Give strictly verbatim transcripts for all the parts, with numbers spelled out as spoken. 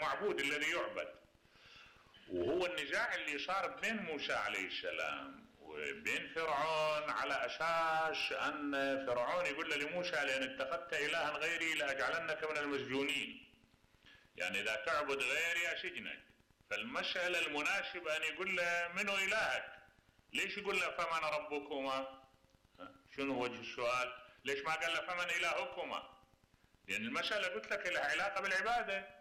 المعبود الذي يعبد. وهو النزاع اللي صار بين موسى عليه السلام وبين فرعون على اساس ان فرعون يقول لموسى لان اتخذت الها غيري لاجعلنك من المسجونين، يعني اذا تعبد غيري اسجنك. فالمسألة المناسبة ان يقول له منو الهك؟ ليش يقول له فمن ربكما؟ شنو وجه السؤال؟ ليش ما قال له فمن الهكما؟ لان المسألة قلت لك لها علاقة بالعبادة.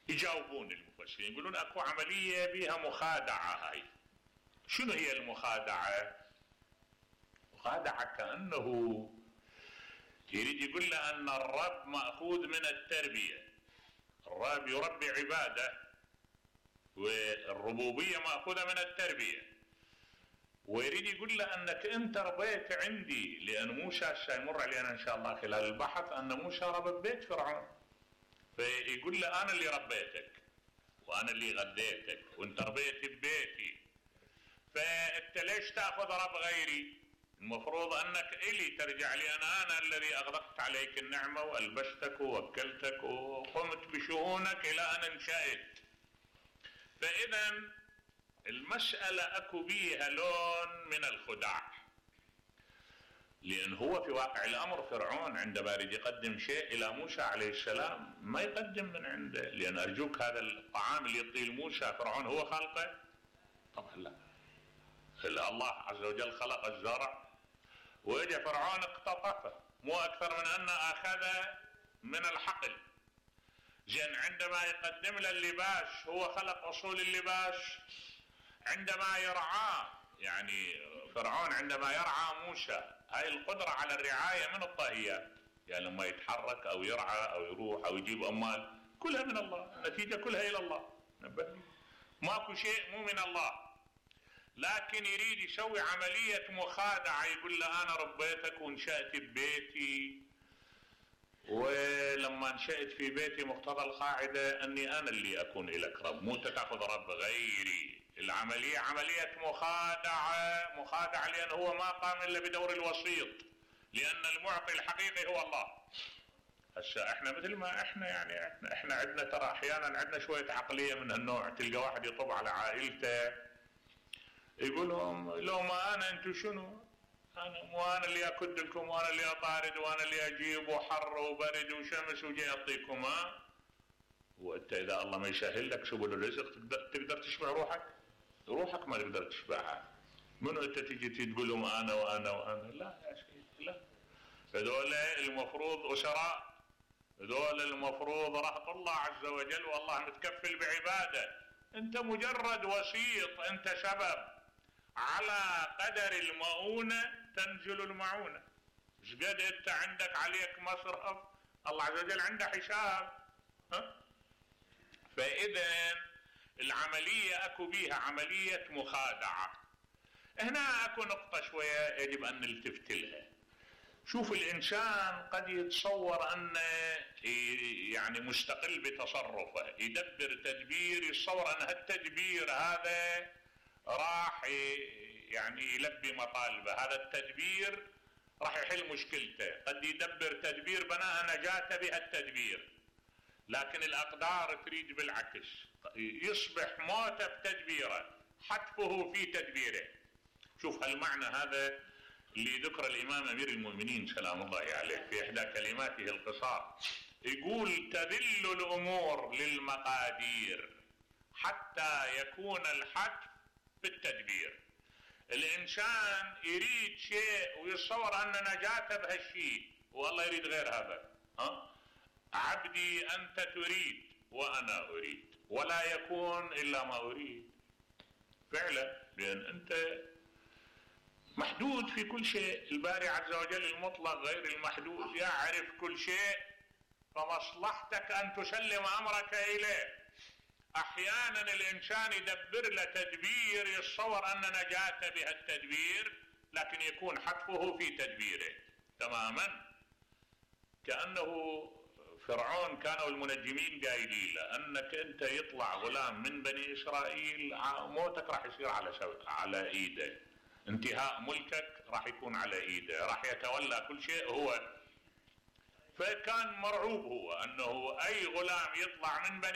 يجاوبون المفسرين يقولون اكو عملية بها مخادعة. هاي شنو هي المخادعة؟ مخادعة كأنه يريد يقول له ان الرب مأخوذ من التربية، الرب يربي عباده والربوبية مأخوذة من التربية، ويريد يقول له انك انت ربيت عندي. لان موسى سيمر علينا ان شاء الله خلال البحث ان موسى ربى ببيت فرعون، فيقول له انا اللي ربيتك وانا اللي غديتك وانت ربيت ببيتي، فانت ليش تاخذ رب غيري؟ المفروض انك الي ترجع لي، انا انا الذي اغدقت عليك النعمة والبستك ووكلتك وقمت بشؤونك الى ان انشأت. فاذا المسألة اكو بيها لون من الخداع، لان هو في واقع الامر فرعون عندما يريد يقدم شيء الى موسى عليه السلام ما يقدم من عنده. لان ارجوك هذا الطعام اللي يعطيه موسى فرعون هو خلقه؟ طبعا لا. الله عز وجل خلق الزرع واجى فرعون اقتطفه، مو اكثر من ان اخذ من الحقل. زين عندما يقدم له اللباس هو خلق اصول اللباس. عندما يرعاه، يعني فرعون عندما يرعى موسى، هاي القدرة على الرعاية من الطاهيات، يعني لما يتحرك او يرعى او يروح او يجيب اموال كلها من الله، النتيجة كلها الى الله، ماكو شيء مو من الله. لكن يريد يسوي عملية مخادعة، يقول له انا ربيتك وانشأت ببيتي، ولما انشأت في بيتي مقتضى القاعدة اني انا اللي اكون لك رب، مو تاخذ رب غيري. العملية عملية مخادعة، مخادعة لان هو ما قام الا بدور الوسيط، لان المعطي الحقيقي هو الله. هسه احنا مثل ما احنا يعني احنا, احنا عندنا ترى احيانا عندنا شوية عقلية من هالنوع. تلقى واحد يطب على عائلته يقول لهم لو ما انا انتو شنو؟ انا مو انا اللي اكد لكم وانا اللي اطارد وانا اللي اجيب وحر وبرد وشمس وجاي اعطيكم. ها وانت اذا الله ما يسهل لك سبل الرزق تقدر, تقدر تشبع روحك؟ روحك ما تقدر تشبعها. منو انت تجي تقول لهم انا وانا وانا؟ لا يا سيدي لا. هذول المفروض اسراء، هذول المفروض رهط الله عز وجل والله متكفل بعباده. انت مجرد وسيط، انت سبب. على قدر المؤونة تنزل المعونة. مش قد انت عندك عليك مصرف، الله عز وجل عنده حساب. ها؟ فاذا العملية اكو بيها عملية مخادعة. هنا اكو نقطة شوية يجب ان نلتفت لها. شوف الانسان قد يتصور ان يعني مستقل بتصرفه، يدبر تدبير، يتصور ان هالتدبير هذا راح يعني يلبي مطالبه، هذا التدبير راح يحل مشكلته. قد يدبر تدبير بناء نجاته بهالتدبير، لكن الاقدار تريد بالعكس، يصبح موته بتدبيره، حتفه في تدبيره. شوف هالمعنى هذا اللي ذكر الامام امير المؤمنين سلام الله عليه في احدى كلماته القصار، يقول تذل الامور للمقادير حتى يكون الحتف بالتدبير. الانسان يريد شيء ويتصور ان نجاته بهالشيء والله يريد غير هذا. ها؟ عبدي انت تريد وانا اريد ولا يكون الا ما اريد. فعلا لان انت محدود في كل شيء. الباري عز وجل المطلق غير المحدود يعرف كل شيء، فمصلحتك ان تسلم امرك اليه. احيانا الانسان يدبر له تدبير يتصور ان نجاته بهالتدبير، لكن يكون حتفه في تدبيره تماما. كأنه فرعون كانوا المنجمين قايلين له انك انت يطلع غلام من بني اسرائيل موتك راح يصير على على ايده، انتهاء ملكك راح يكون على ايده، راح يتولى كل شيء هو. فكان مرعوب هو انه اي غلام يطلع من بني